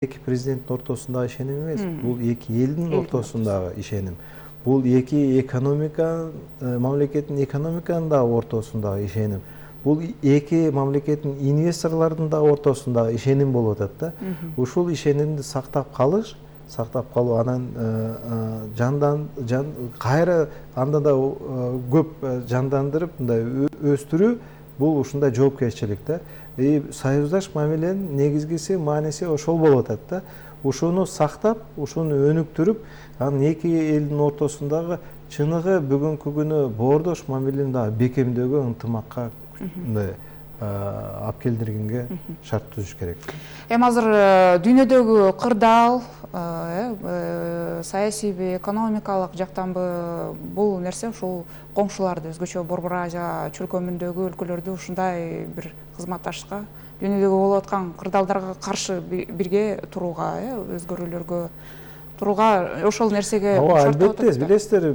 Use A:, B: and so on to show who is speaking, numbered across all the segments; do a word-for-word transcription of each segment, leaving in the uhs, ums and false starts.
A: эки президенттин ортосундагы ишеним эмес, бул эки элдин ортосундагы ишеним. Бул эки экономика мамлекеттин экономиканын дагы ортосундагы ишеним. Бул эки мамлекеттин инвесторлордун дагы ортосундагы ишеним болуп атат да. Ушул ишенимди сактап калыш, сактап калуу, анан жандан жан кайра анда да көп жандандырып мындай өстүрүү, бул ушундай жоопкерчилик да. И союздаш мамиленин негизгиси, мааниси ошол болуп атат да. Ушуну сактап, ушуну өнүктүрүп, анан эки элдин ортосундагы чыныгы бүгүнкү күнү боордош мамилени дагы бекемдөөгө, ынтымакка мындай алып келдиргенге шарт түзүш керек.
B: Эми азыр дүйнөдөгү кырдаал, саясийби, экономикалык жактанбы бул нерсе ушул коңшуларды, өзгөчө Борбор Азия чөлкөмүндөгү өлкөлөрдү ушундай бир кызматташка, дүйнөдөгү болуп аткан кырдаалдарга каршы бирге турууга, өзгөрүүлөргө турууга ошол нерсеге
A: шарттап атат. Албетте, билесиздер,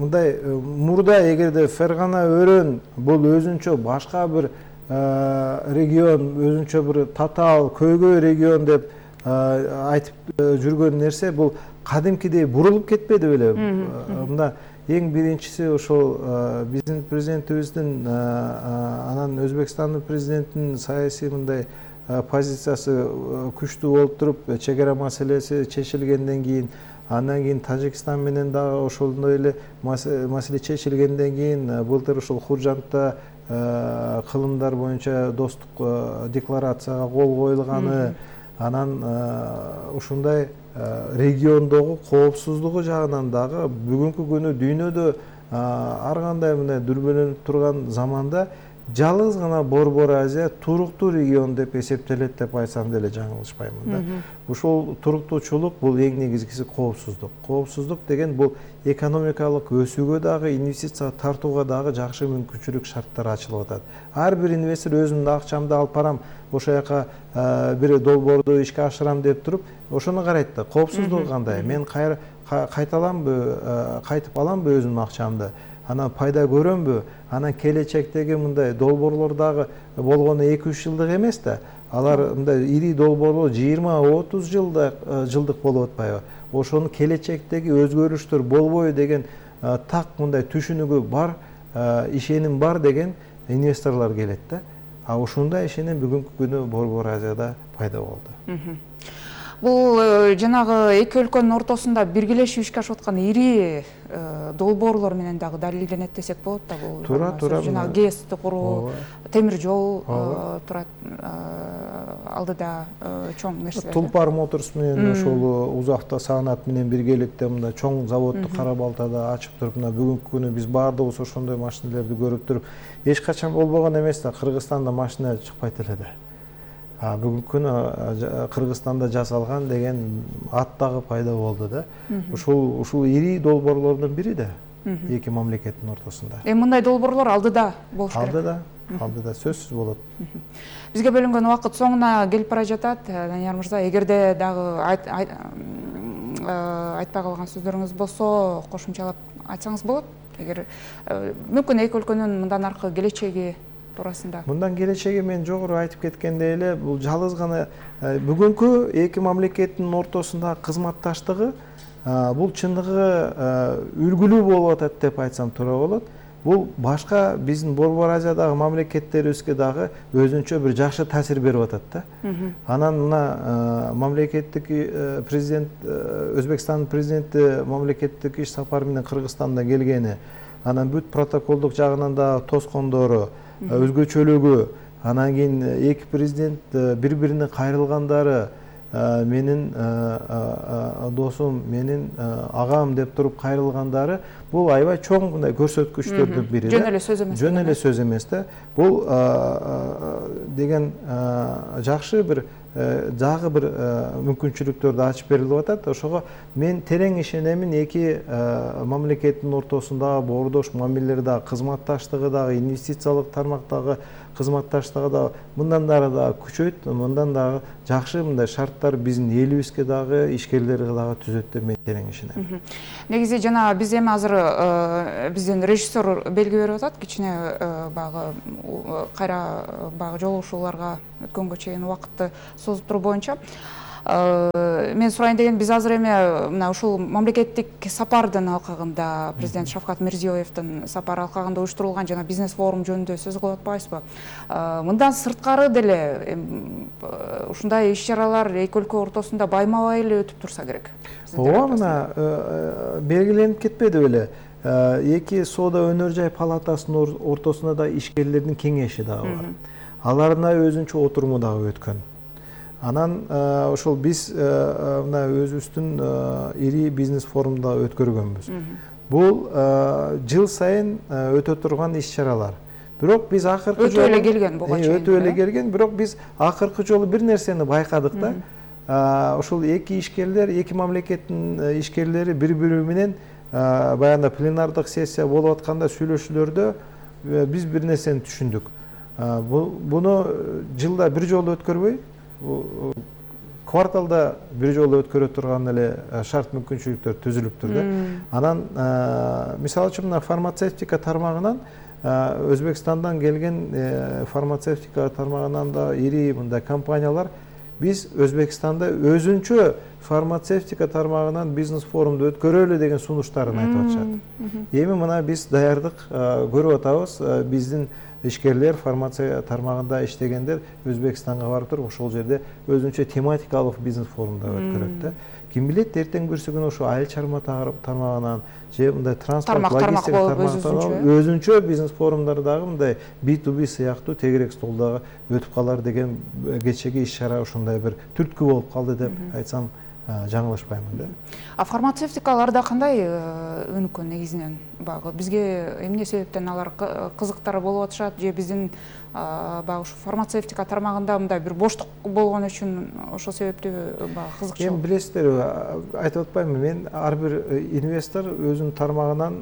A: мындай мурда эгерде Фергана өрөөн бул өзүнчө башка бир регион, өзүнчө бир татаал көйгөй регион деп айтып жүргөн нерсе бул кадимкидей бурулуп кетпеди беле. Мында эң биринчиси ошол биздин президентибиздин анан Өзбекстандын президентинин саясий мындай позициясы күчтүү болуп туруп, чек ара маселеси чечилгенден кийин, андан кийин Тажикстан менен дагы ошондой эле маселе чечилгенден кийин былтыр ушул Хуржантта кылымдар боюнча достук декларацияга кол коюлганы, анан ушундай региондогу коопсуздугу жагынан дагы бүгүнкү күнү дүйнөдө ар кандай мындай дүрбөлөнүп турган заманда жалгыз гана Борбор Азия туруктуу регион деп эсептелет деп айтсам деле жаңылышпаймын да. Ушул туруктуучулук бул эң негизгиси коопсуздук. Коопсуздук деген бул экономикалык өсүүгө дагы, инвестиция тартууга дагы жакшы мүмкүнчүлүк шарттар ачылып атат. Ар бир инвестор өзүмдүн акчамды алып барам, ошол жака бир долбоорду ишке ашырам деп туруп, ошону карайт да. Коопсуздугу кандай? Мен кайталамбы, кайтып аламбы өзүмдүн акчамды? Анан пайда көрөмбү? Анан келечектеги мындай долбоорлор дагы болгону эки үч жылдык эмес да. Алар мындай ири долбоорлор жыйырма отуз жылдык жылдык болуп атпайбы? Ошонун келечектеги өзгөрүштөр болбойбу деген так мындай түшүнүгү бар, ишеним бар деген инвесторлор келет да. А ушундай ишеним бүгүнкү күнү Борбор Азияда пайда болду.
B: Бул жанагы эки өлкөнүн ортосунда биргелешип ишке ашып аткан ири долбоорлор менен дагы далилденет десек болот да. Бул
A: туура туура
B: жанагы ГЭСти куруу, темир жол турат алдыда чоң нерселер.
A: Тулпар Моторс менен ошол Узавто Саанат менен биргеликте мындай чоң заводду Кара Балтада ачып туруп, мына бүгүнкү күнү биз баардыгыбыз ошондой машинелерди көрүп туруп, эч качан болбогон эмес да, Кыргызстанда машина чыкпайт эле да. Бүгүнкү күнү Кыргызстанда жасалган деген ат дагы пайда болду да. Ушул ушул ири долбоорлордун бири да эки мамлекеттин ортосунда.
B: Эми мындай долбоорлор алдыда болуш керек.
A: Алдыда, алдыда сөзсүз болот.
B: Бизге бөлүнгөн убакыт соңуна келип бара жатат. Данияр мырза, эгерде дагы айтпай калган сөздөрүңүз болсо, кошумчалап айтсаңыз болот. Эгер мүмкүн эки өлкөнүн мындан аркы келечеги туурасында.
A: Мындан келечеги мен жогору айтып кеткендей эле, бул жалгыз гана бүгүнкү эки мамлекеттин ортосундагы кызматташтыгы бул чындыгы үлгүлүү болуп атат деп айтсам туура болот. Бул башка биздин Борбор Азиядагы мамлекеттерибизге дагы өзүнчө бир жакшы таасир берип атат да. Анан мына мамлекеттик президент, Өзбекстандын президенти мамлекеттик иш сапары менен Кыргызстанда келгени, анан бүт протоколдук жагынан да тоскондору, өзгөчөлүгү, анан кийин эки президент бири-бирине кайрылгандары, менин досум, менин агам деп туруп кайрылгандары, бул аябай чоң мындай көрсөткүчтөрдүн бири.
B: Жөн эле сөз эмес.
A: Жөн эле сөз эмес да. Бул деген жакшы бир дагы бир мүмкүнчүлүктөрдү ачып берилип атат. Ошого мен терең ишенемин, эки мамлекеттин ортосундагы боордош мамилелер дагы, кызматташтыгы дагы, инвестициялык тармактагы кызматташтыгы дагы мындан дагы күчөйт, мындан дагы жакшы мындай шарттар биздин элибизге дагы, ишкерлерге дагы түзөт деп мен терең ишенем.
B: Негизи жана биз эми азыр биздин режиссер белги берип атат, кичине багы кайра багы жолугушууларга өткөнгө чейин убакытты созуп туруу боюнча. Мен сурайын деген, биз азыр эми мына ушул мамлекеттик сапардын алкагында, президент Шавкат Мирзиёевдин сапары алкагында уюштурулган жана бизнес форум жөнүндө сөз кылып атпайбызбы? Мындан сырткары деле ушундай иш-чаралар эки өлкө ортосунда байма-бай эле өтүп турса керек.
A: Ооба, мына белгиленип кетпеди беле. Эки соода өнөр жай палатасынын ортосунда да ишкерлердин кеңеши дагы бар. Алардын өзүнчө отуруму дагы өткөн. Анан ошол биз мына өзүбүздүн ири бизнес форумда өткөргөнбүз. Бул жыл сайын өтө турган иш-чаралар. Бирок биз акыркы
B: жолу өтө эле келген буга чейин.
A: Өтө эле келген, бирок биз акыркы жолу бир нерсени байкадык да. Ошол эки ишкерлер, эки мамлекеттин ишкерлери бири-бири менен баягында пленардык сессия болуп атканда сүйлөшүүлөрдө биз бир нерсени түшүндүк. Буну жылда бир жолу өткөрбөй, кварталда бир жолу өткөрө турган эле шарт мүмкүнчүлүктөр түзүлүптүр да. Анан мисалы үчүн мына фармацевтика тармагынан Өзбекстандан келген фармацевтика тармагынан да ири мындай компаниялар биз Өзбекстанда өзүнчө фармацевтика тармагынан бизнес форумду өткөрөлү деген сунуштарын айтып атышат. Эми мына биз даярдык көрүп атабыз. Биздин ишкерлер фармация тармагында иштегендер Өзбекстанга барып туруп ошол жерде өзүнчө тематикалык бизнес форумда өткөрөт да. Ким билет, эртең бүрсү күнү ошо айыл чарба тармагынан же мындай транспорт, логистика тармагынан өзүнчө бизнес форумдар дагы мындай би ту би сыяктуу тегерек столдогу өтүп калар деген кечеги иш-чара ушундай бир түрткү болуп калды деп айтсам жаңылышпаймын да.
B: А фармацевтикаларда кандай өнүккөн негизинен багы? Бизге эмне себептен алар кызыктар болуп атышат же биздин багы ушу фармацевтика тармагында мындай бир боштук болгон үчүн ошол себептүү багы кызыкчу?
A: Эми билесиздер, айтып атпаймынбы, мен ар бир инвестор өзүнүн тармагынан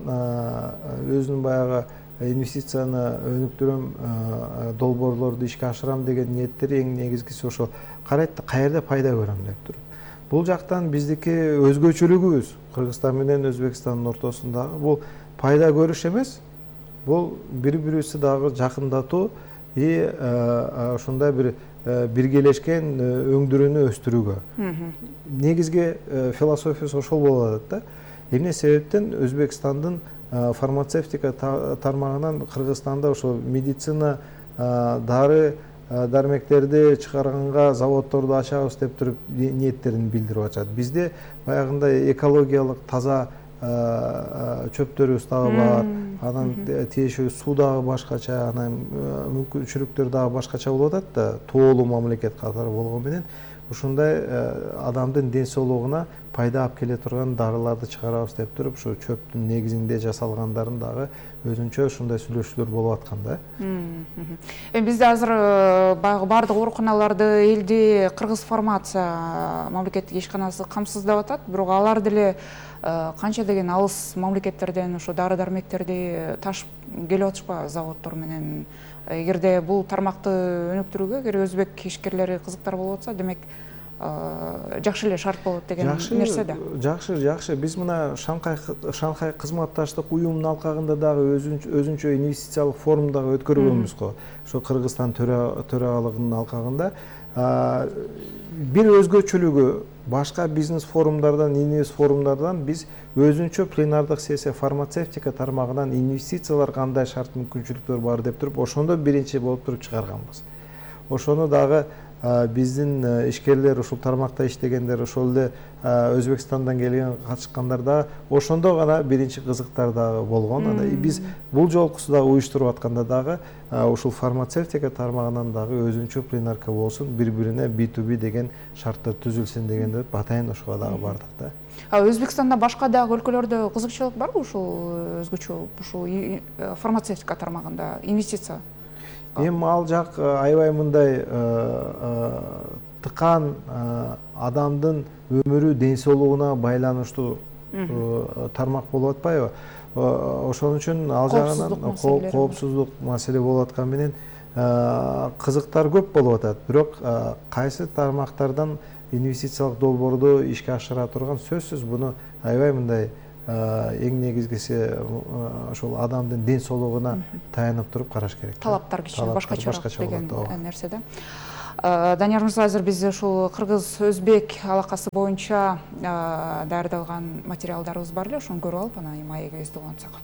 A: өзүнүн баягы инвестицияны өнүктүрөм, долбоорлорду ишке ашырам деген ниеттери эң негизгиси ошол карайт каерде пайда көрөм деп туруп. Бул жактан биздики өзгөчөлүгүбүз Кыргызстан менен Өзбекстандын ортосундагы бул пайда көрүш эмес, бул бири-бирибизди дагы жакындатуу и ошондой бир биргелешкен өңдүрүүнү өстүрүүгө. Негизги философиясы ошол болуп атат да. Эмне себептен Өзбекстандын фармацевтика тармагынан Кыргызстанда ошол медицина, дары дармектерди чыгарганга заводдорду ачабыз деп туруп ниеттерин билдирип атышат. Бизде баягындай экологиялык таза чөптөрүбүз дагы бар, анан тиешелүү суу дагы башкача, анан мүмкүнчүлүктөр дагы башкача болуп атат да, тоолуу мамлекет катары болгону менен ушундай адамдын ден соолугуна пайда алып келе турган дарыларды чыгарабыз деп туруп, ушу чөптүн негизинде жасалгандарын дагы өзүнчө ушундай сүйлөшүүлөр болуп аткан да.
B: Эми бизде азыр баягы бардык ооруканаларды элди Кыргыз фармация мамлекеттик ишканасы камсыздап атат, бирок алар деле канча деген алыс мамлекеттерден ошо дары дармектерди ташып келип атышпайбы заводдор менен? Эгерде бул тармакты өнүктүрүүгө эгер өзбек ишкерлери кызыктар болуп атса, демек жакшы эле шарт болот деген нерсе да.
A: Жакшы, жакшы. Биз мына Шанхай Шанхай кызматташтык уюмунун алкагында дагы өзүнчө инвестициялык форум дагы өткөргөнбүз го. Ошо Кыргызстан төрагалыгынын алкагында бир өзгөчөлүгү башка бизнес форумдардан, инвест форумдардан биз өзүнчө пленардык сессия фармацевтика тармагынан инвестициялар кандай шарт мүмкүнчүлүктөр бар деп туруп, ошондо биринчи болуп туруп чыгарганбыз. Ошону дагы биздин ишкерлер, ушул тармакта иштегендер, ошол эле Өзбекстандан келген катышкандар дагы ошондо гана биринчи кызыктар дагы болгон. Биз бул жолкусу дагы уюштуруп атканда дагы ушул фармацевтика тармагынан дагы өзүнчө пленарка болсун, бири-бирине би ту би деген шарттар түзүлсүн дегенде атайын ошого дагы бардык да.
B: А Өзбекстанда башка дагы өлкөлөрдө кызыкчылык барбы ушул өзгөчө ушул фармацевтика тармагында инвестиция?
A: Эми ал жак аябай мындай тыкан адамдын өмүрү, ден соолугуна байланыштуу тармак болуп атпайбы? Ошон үчүн ал жагынан коопсуздук маселе болуп аткан менен кызыктар көп болуп атат. Бирок кайсы тармактардан инвестициялык долбоорду ишке ашыра турган сөзсүз буну аябай мындай эң негизгиси ошол адамдын ден соолугуна таянып туруп караш керек.
B: Талаптар кичине башкачараак деген нерсе да. Данияр Мырза, азыр биз ушул кыргыз-өзбек алакасы боюнча даярдалган материалдарыбыз бар эле, ошону көрүп алып анан маегибизди улантсак.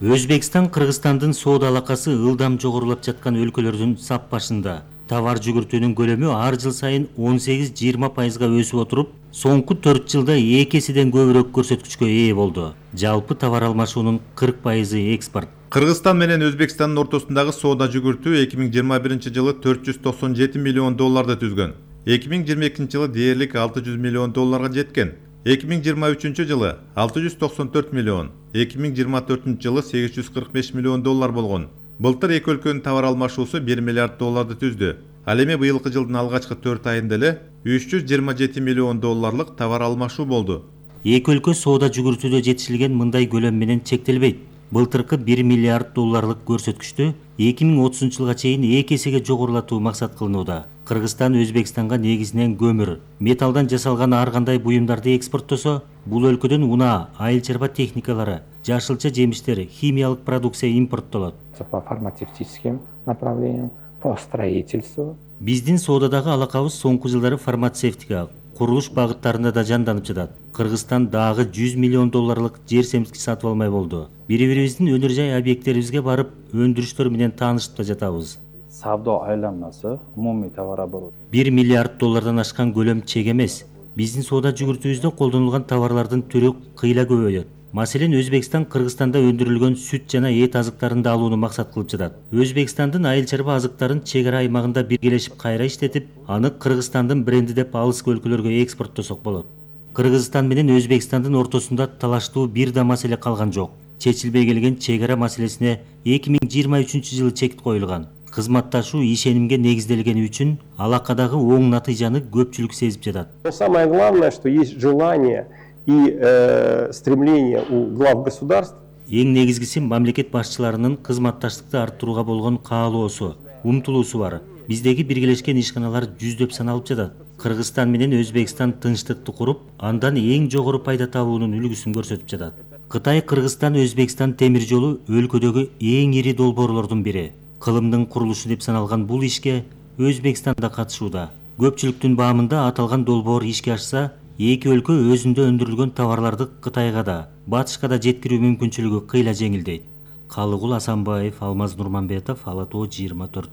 C: Өзбекстан Кыргызстандын соода алакасы ылдам жогорулап жаткан өлкөлөрдүн сап башында. Товар жүгүртүүнүн көлөмү ар жыл сайын он сегиз жыйырма пайызга өсүп отуруп, соңку төрт жылда эки эседен көбүрөөк көрсөткүчкө ээ болду. Жалпы товар алмашуунун кырк пайызы экспорт.
D: Кыргызстан менен Өзбекстандын ортосундагы соода жүгүртүү эки миң жыйырма биринчи жылы төрт жүз токсон жети миллион долларды түзгөн. эки миң жыйырма экинчи жылы дээрлик алты жүз миллион долларга жеткен. эки миң жыйырма үчүнчү жылы алты жүз токсон төрт миллион, эки миң жыйырма төртүнчү жылы сегиз жүз кырк беш миллион доллар болгон. Былтыр эки өлкөнүн товар алмашуусу бир миллиард долларды түздү. Ал эми быйылкы жылдын алгачкы төрт айында эле үч жүз жыйырма жети миллион долларлык товар алмашуу болду.
C: Эки өлкө соода жүгүртүүдө жетишилген мындай көлөм менен чектелбейт. Былтыркы бир миллиард долларлык көрсөткүчтү эки миң отузунчу жылга чейин эки эсеге жогорулатуу максат кылынууда. Кыргызстан Өзбекстанга негизинен көмүр, металлдан жасалган ар кандай буюмдарды экспорттосо, бул өлкөдөн унаа, айыл чарба техникалары, жашылча жемиштер, химиялык продукция импорттолот.
E: По фармацевтическим направлениям, по строительству.
C: Биздин соодадагы алакабыз соңку жылдары фармацевтика, курулуш багыттарында да жанданып жатат. Кыргызстан дагы жүз миллион долларлык жер семсиз сатып алмай болду. Бири-бирибиздин өнөр жай объекттерибизге барып, өндүрүштөр менен таанышып да жатабыз.
E: Савдо айланмасы, умумий товарооборот.
C: бир миллиард доллардан ашкан көлөм чек эмес. Биздин соода жүгүртүүбүздө колдонулган товарлардын түрү кыйла көбөйөт. Маселен, Өзбекстан Кыргызстанда өндүрүлгөн сүт жана эт азыктарын да алууну максат кылып жатат. Өзбекстандын айыл чарба азыктарын чек ара аймагында биргелешип кайра иштетип, аны Кыргызстандын бренди деп алыскы өлкөлөргө экспорттосок болот. Кыргызстан менен Өзбекстандын ортосунда талаштуу бир да маселе калган жок. Чечилбей келген чек ара маселесине эки миң жыйырма үчүнчү жылы чек коюлган. Кызматташуу ишенимге негизделгени үчүн алакадагы оң натыйжаны көпчүлүк сезип жатат.
F: Самое главное, что есть желание и э, стремление у глав государств.
C: Эң негизгиси мамлекет башчыларынын кызматташтыкты арттырууга болгон каалоосу, умтулуусу бар. Биздеги биргелешкен ишканалар жүздөп саналып жатат. Кыргызстан менен Өзбекстан тынчтыкты куруп, андан эң жогору пайда табуунун үлгүсүн көрсөтүп жатат. Кытай, Кыргызстан, Өзбекстан темир жолу өлкөдөгү эң ири долбоорлордун бири. Кылымдын курулушу деп саналган бул ишке Өзбекстан да катышууда. Көпчүлүктүн баамында аталган долбоор ишке ашса, эки өлкө өзүндө өндүрүлгөн товарларды Кытайга да, Батышка да жеткирүү мүмкүнчүлүгү кыйла жеңилдейт. Калыгул Асанбаев, Алмаз Нурманбетов, Ала Тоо жыйырма төрт.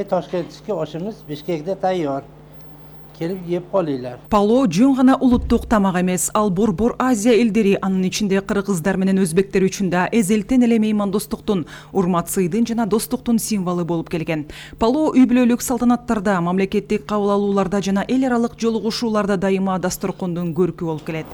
G: Ташкентке ошумуз Бишкекте тайyor. Келип жеп колуйлар.
H: Пало жөн гана улуттук тамак эмес, ал Борбор Азия элдери, анын ичинде кыргыздар менен өзбектер үчүн да эзелтен эле меймандостуктун, урмат сыйдын жана достуктун символу болуп келген. Пало үй бүлөлүк салтанаттарда, мамлекеттик кабыл алууларда жана эл аралык жолугушууларда дайыма дасторкондун көркү болуп келет.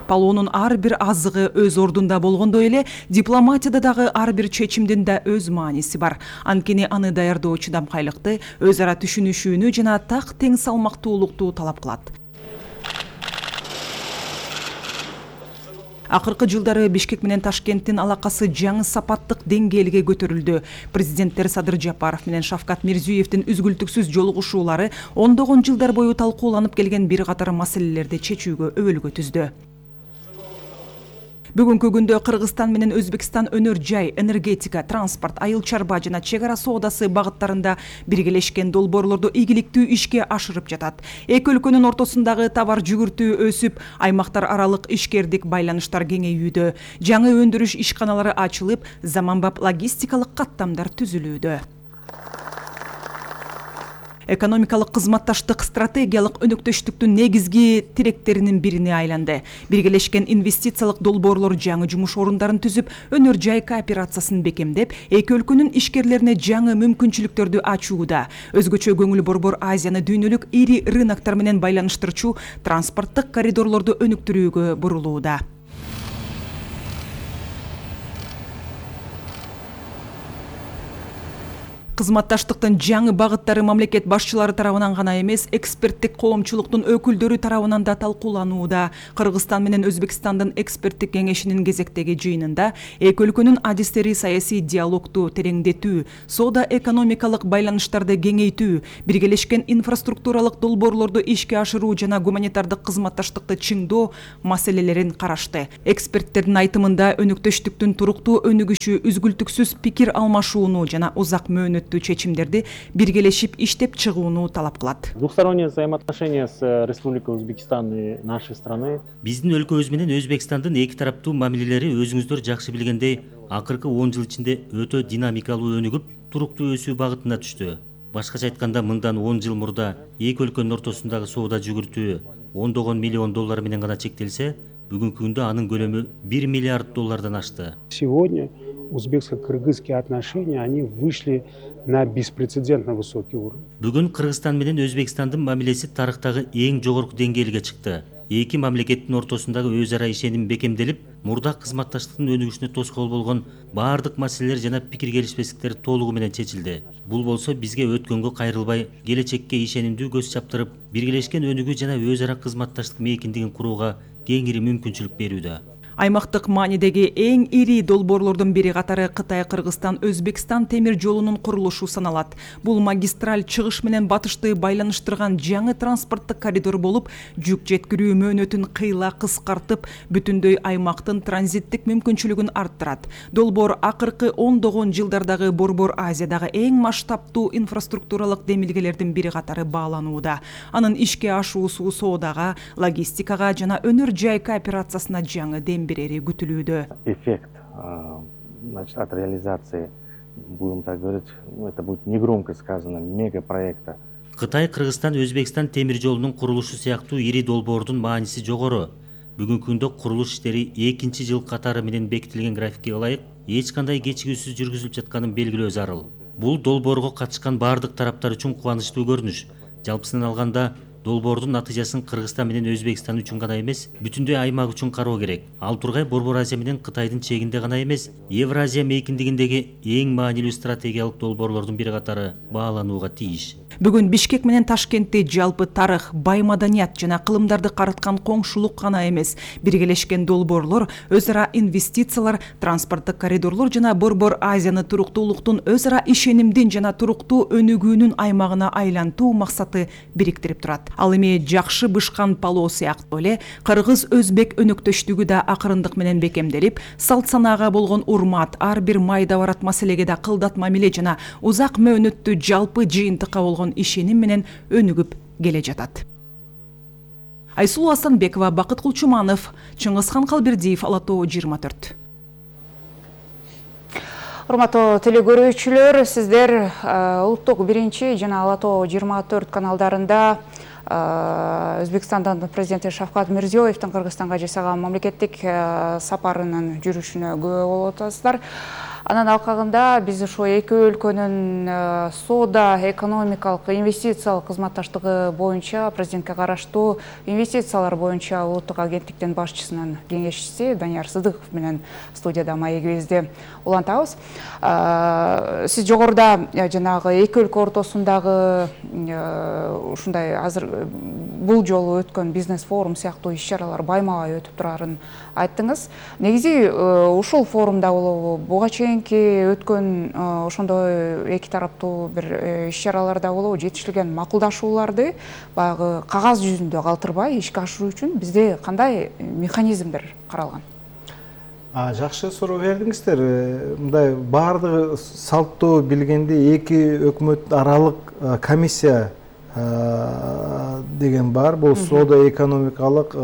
H: Палоонун ар бир азыгы өз ордунда болгондой эле, дипломатияда дагы ар бир чечимдин да өз мааниси бар. Анткени аны даярдоо чыдамкайлыкты, өз ара түшүнүшүүнү жана так тең салмактуулукту талап кылат. Акыркы жылдары Бишкек менен Ташкенттин алакасы жаңы сапаттык деңгээлге көтөрүлдү. Президенттер Садыр Жапаров менен Шавкат Мирзиёевдин үзгүлтүксүз жолугушуулары ондогон жылдар бою талкууланып келген бир катар маселелерди чечүүгө өбөлгө түздү. Бүгүнкү күндө Кыргызстан менен Өзбекстан өнөр жай, энергетика, транспорт, айыл чарба жана чек ара соодасы багыттарында биргелешкен долбоорлорду ийгиликтүү ишке ашырып жатат. Эки өлкөнүн ортосундагы товар жүгүртүү өсүп, аймактар аралык ишкердик байланыштар кеңейүүдө. Жаңы өндүрүш ишканалары ачылып, заманбап логистикалык каттамдар түзүлүүдө. Экономикалык кызматташтык стратегиялык өнөктөштүктүн негизги тиректеринин бирине айланды. Биргелешкен инвестициялык долбоорлор жаңы жумуш орундарын түзүп, өнөр жай кооперациясын бекемдеп, эки өлкөнүн ишкерлерине жаңы мүмкүнчүлүктөрдү ачууда. Өзгөчө көңүл Борбор Азияны дүйнөлүк ири рыноктор менен байланыштырчу транспорттук коридорлорду өнүктүрүүгө бурулууда. кызматташтыктын жаңы багыттары мамлекет башчылары тарабынан гана эмес, эксперттик коомчулуктун өкүлдөрү тарабынан да талкууланууда. Кыргызстан менен Өзбекстандын эксперттик кеңешинин кезектеги жыйынында эки өлкөнүн адистери саясий диалогду тереңдетүү, соода экономикалык байланыштарды кеңейтүү, биргелешкен инфраструктуралык долбоорлорду ишке ашыруу жана гуманитардык кызматташтыкты чыңдоо маселелерин карашты. Эксперттердин айтымында өнөктөштүктүн туруктуу өнүгүшү үзгүлтүксүз пикир алмашууну жана узак мөөнөттүү чечимдерди биргелешип иштеп чыгууну талап кылат.
I: Двухсторонние взаимоотношения с Республикой Узбекистан и нашей страны.
C: Биздин өлкөбүз менен Өзбекстандын эки тараптуу мамилелери өзүңүздөр жакшы билгендей акыркы он жыл ичинде өтө динамикалуу өнүгүп, туруктуу өсүү багытына түштү. Башкача айтканда, мындан он жыл мурда эки өлкөнүн ортосундагы соода жүгүртүү ондогон миллион доллар менен гана чектелсе, бүгүнкү күндө анын көлөмү бир миллиард доллардан ашты.
J: Сегодня узбекско-кыргызские отношения, они вышли на беспрецедентно высокий уровень.
C: Бүгүн Кыргызстан менен Өзбекстандын мамилеси тарыхтагы эң жогорку деңгээлге чыкты. Эки мамлекеттин ортосундагы өз ара ишеним бекемделип, мурда кызматташтыктын өнүгүшүнө тоскоол болгон баардык маселелер жана пикир келишпестиктер толугу менен чечилди. Бул болсо бизге өткөнгө кайрылбай, келечекке ишенимдүү көз чаптырып, биргелешкен өнүгүү жана өз ара кызматташтык мейкиндигин курууга кеңири мүмкүнчүлүк берүүдө.
H: Аймактык маанидеги эң ири долбоорлордун бири катары Кытай-Кыргызстан-Өзбекстан темир жолунун курулушу саналат. Бул магистраль чыгыш менен батышты байланыштырган жаңы транспорттук коридор болуп, жүк жеткирүү мөөнөтүн кыйла кыскартып, бүтүндөй аймактын транзиттик мүмкүнчүлүгүн арттырат. Долбоор акыркы ондогон жылдардагы Борбор Азиядагы эң масштабтуу инфраструктуралык демилгелердин бири катары бааланууда. Анын ишке ашуусу соодага, логистикага жана өнөр жай кооперациясына жаңы дем берери күтүлүүдө.
I: Эффект, значит, от реализации, будем так говорить, это будет негромко сказано, мегапроекта.
C: Кытай-Кыргызстан Өзбекстан темир жолунун курулушу сыяктуу ири долбоордун мааниси жогору. Бүгүнкү күндө курулуш иштери экинчи жыл катары менен бекитилген графикке ылайык эч кандай кечигүүсүз жүргүзүлүп жатканын белгилөө зарыл. Бул долбоорго катышкан бардык тараптар үчүн кубанычтуу көрүнүш. Жалпысынан алганда, долбоордун натыйжасын Кыргызстан менен Өзбекстан үчүн гана эмес, бүтүндөй аймак үчүн кароо керек. Ал тургай Борбор Азия менен Кытайдын чегинде гана эмес, Евразия мейкиндигиндеги эң маанилүү стратегиялык долбоорлордун бири катары бааланууга тийиш.
H: Бүгүн Бишкек менен Ташкентти жалпы тарых, бай маданият жана кылымдарды карыткан коңшулук гана эмес, биргелешкен долбоорлор, өз ара инвестициялар, транспорттук коридорлор жана Борбор Азияны туруктуулуктун, өз ара ишенимдин жана туруктуу өнүгүүнүн аймагына айлантуу максаты бириктирип турат. Ал эми жакшы бышкан палоо сыяктуу эле кыргыз-өзбек өнөктөштүгү да акырындык менен бекемделип, салт санаага болгон урмат, ар бир майда барат маселеге да кылдат мамиле жана узак мөөнөттүү жалпы жыйынтыкка болгон ишеним менен өнүгүп келе жатат. Айсулуу Асанбекова, Бакыт Кулчуманов, Чыңгызхан Калбердиев, Ала Тоо жыйырма төрт.
B: Урматтуу телекөрүүчүлөр, сиздер улуттук биринчи жана Ала Тоо жыйырма төрт каналдарында Өзбекстандын президенти Шавкат Мирзиёевдин Кыргызстанга жасаган мамлекеттик сапарынын жүрүшүнө күбө болуп атасыздар. Анан алкагында биз ошо эки өлкөнүн соода, экономикалык, инвестициялык кызматташтыгы боюнча президентке караштуу инвестициялар боюнча улуттук агенттиктин башчысынын кеңешчиси Данияр Сыдыков менен студияда маегибизди улантабыз. Сиз жогоруда жанагы эки өлкө ортосундагы ушундай азыр бул жолу өткөн бизнес форум сыяктуу иш-чаралар байма-бай өтүп турарын айттыңыз. Негизи ушул форумда болобу, буга чейинки өткөн ошондой эки тараптуу бир иш-чараларда болобу, жетишилген макулдашууларды баягы кагаз жүзүндө калтырбай ишке ашыруу үчүн бизде кандай механизмдер каралган?
A: Жакшы суроо бердиңиздер. Мындай баардыгы салттуу билгенде эки өкмөт аралык комиссия деген бар. Бул соода экономикалык,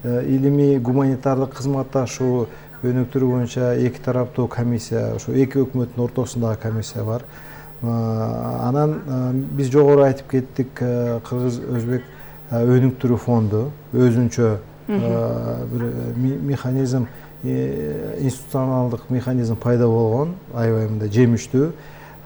A: илимий гуманитардык кызматташуу өнүктүрүү боюнча эки тараптуу комиссия, ошо эки өкмөттүн ортосундагы комиссия бар. Анан биз жогору айтып кеттик, Кыргыз-Өзбек өнүктүрүү фонду өзүнчө бир механизм, институционалдык механизм пайда болгон, аябай мындай жемиштүү.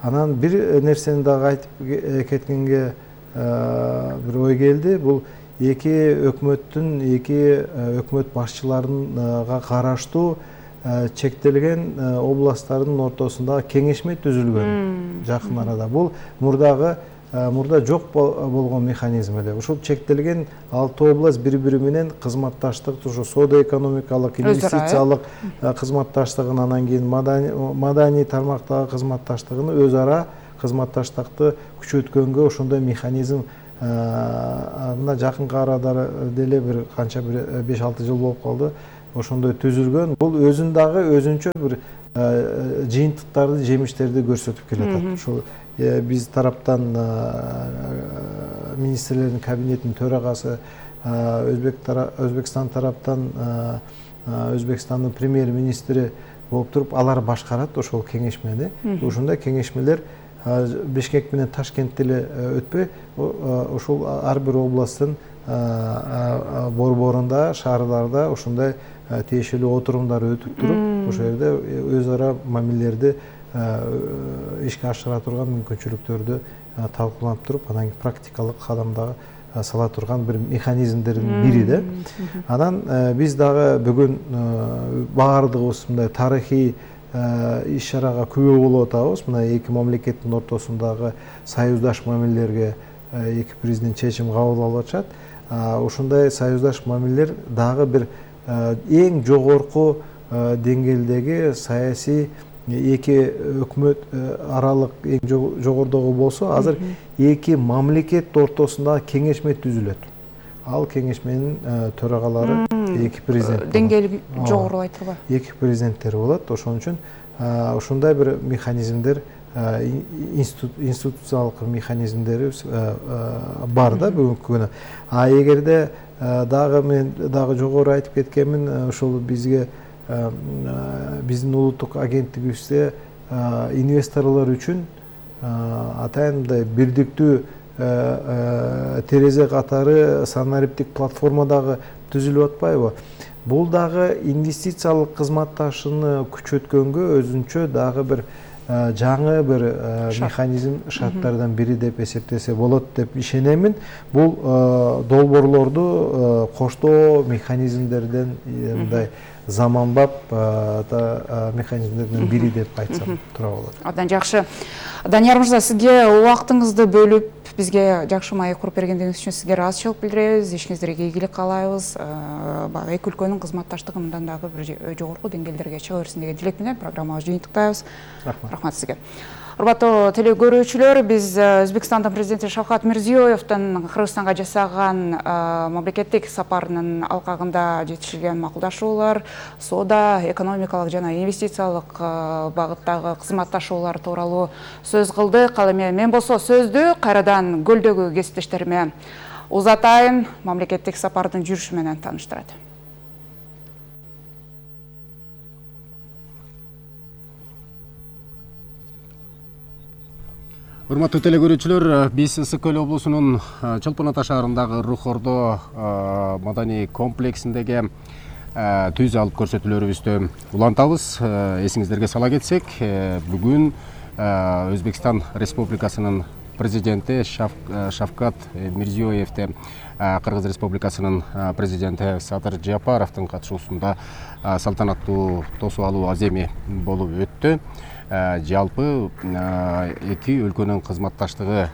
A: Анан бир нерсени дагы айтып кеткенге бир ой келди. Бул эки өкмөттүн, эки өкмөт башчыларына караштуу чектелген областтардын ортосунда кеңешме түзүлгөн жакын арада. Бул мурдагы мурда жок болгон механизм эле. Ушул чектелген алты область бири-бири менен кызматташтык, ушу соода экономикалык, инвестициялык кызматташтыгын, анан кийин маданий тармактагы кызматташтыгын өз ара кызматташтыкты күчөткөнгө ошондой механизм мына жакынкы арада деле бир канча бир беш алты жыл болуп калды. Ошондой түзүлгөн. Бул өзүн дагы өзүнчө бир жыйынтыктарды, жемиштерди көрсөтүп келатат. Ушул биз тараптан министрлердин кабинетинин төрагасы, Өзбекстан тараптан Өзбекстандын премьер-министри болуп туруп, алар башкарат ошол кеңешмени. Ошондой кеңешмелер Бишкек менен Ташкентте эле өтпөй, ошол ар бир областтын борборунда, шаарларда ошондой тиешелүү отурумдар өтүп туруп, ошол жерде өз ара мамилелерди ишке ашыра турган мүмкүнчүлүктөрдү талкууланып туруп, анан практикалык кадамдагы сала турган бир механизмдердин бири да. Анан биз дагы бүгүн баардыгыбыз мындай тарыхый иш-чарага күбө болуп атабыз. Мына эки мамлекеттин ортосундагы союздаш мамилелерге эки президент чечим кабыл алып атышат. Ушундай союздаш мамилелер дагы бир эң жогорку деңгээлдеги саясий эки өкмөт аралык эң жогордогу болсо, азыр эки мамлекет ортосунда кеңешме түзүлөт. Ал кеңешменин төрагалары эки президент.
B: Деңгээли жогорулай турбайбы?
A: Эки президенттер болот. Ошон үчүн ушундай бир механизмдер, институциялык механизмдери бар да бүгүнкү күнү. А эгерде дагы мен дагы жогору айтып кеткенмин, ошол бизге биздин улуттук агенттигибизде инвесторлор үчүн атайын мындай бирдиктүү терезе катары санариптик платформа дагы түзүлүп атпайбы? Бул дагы инвестициялык кызматташууну күчөткөнгө өзүнчө дагы бир жаңы бир механизм, шарттардан бири деп эсептесе болот деп ишенемин. Бул долбоорлорду коштоо механизмдерден мындай заманбап механизмдердин бири деп айтсам туура болот.
B: Абдан жакшы. Данияр мырза, сизге убактыңызды бөлүп бизге жакшы маек куруп бергендигиңиз үчүн сизге ыраазычылык билдиребиз. Ишиңиздерге ийгилик каалайбыз. Баягы эки өлкөнүн кызматташтыгы мындан дагы бир жогорку деңгээлдерге чыга берсин деген тилек менен программабызды жыйынтыктайбыз. Рахмат сизге. Урматтуу теле көрүүчүлөр, биз Өзбекстандын президенти Шавкат Мирзиёевдин Кыргызстанга жасаган мамлекеттик сапарынын алкагында жетишилген макулдашуулар, соода, экономикалык жана инвестициялык багыттагы кызматташуулар тууралуу сөз кылдык. Ал эми мен болсо сөздү кайрадан көлдөгү кесиптештериме узатайын, мамлекеттик сапардын жүрүшү менен тааныштырат.
K: Урматтуу теле көрүүчүлөр, биз Ысык Көл облусунун Чолпон Ата шаарындагы Рухордо маданий комплексиндеги түз алып көрсөтүүлөрүбүздү улантабыз. Эсиңиздерге сала кетсек, бүгүн Өзбекстан Республикасынын президенти Шавкат Мирзиёевди Кыргыз Республикасынын президенти Садыр Жапаровдун катышуусунда салтанаттуу тосуп алуу аземи болуп өттү. Жалпы эки өлкөнүн кызматташтыгы,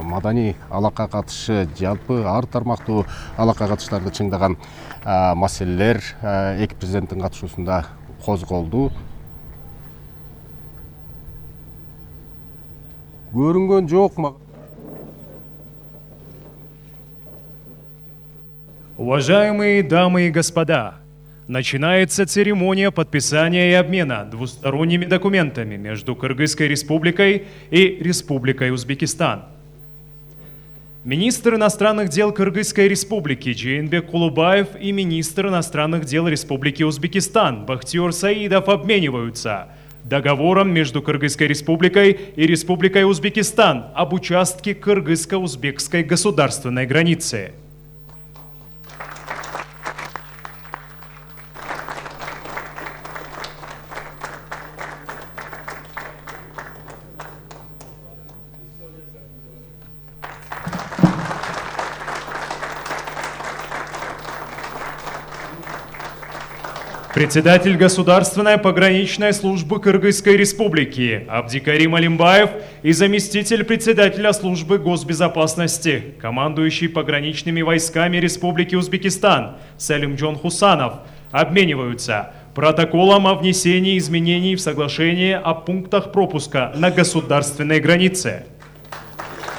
K: маданий алакка катышы, жалпы ар тармактуу алакка катыштарды чыңдаган маселелер эки президенттин катышуусунда козголду. Көрүнгөн жокму?
L: Уважаемые дамы и господа, начинается церемония подписания и обмена двусторонними документами между Кыргызской Республикой и Республикой Узбекистан. Министр иностранных дел Кыргызской Республики Жээнбек Кулубаев и министр иностранных дел Республики Узбекистан Бахтиёр Саидов обмениваются договором между Кыргызской Республикой и Республикой Узбекистан об участке кыргызско-узбекской государственной границы. Председатель Государственной пограничной службы Кыргызской Республики Абдикарим Алимбаев и заместитель председателя службы госбезопасности, командующий пограничными войсками Республики Узбекистан Салимджон Хусанов обмениваются протоколом о внесении изменений в соглашение о пунктах пропуска на государственной границе.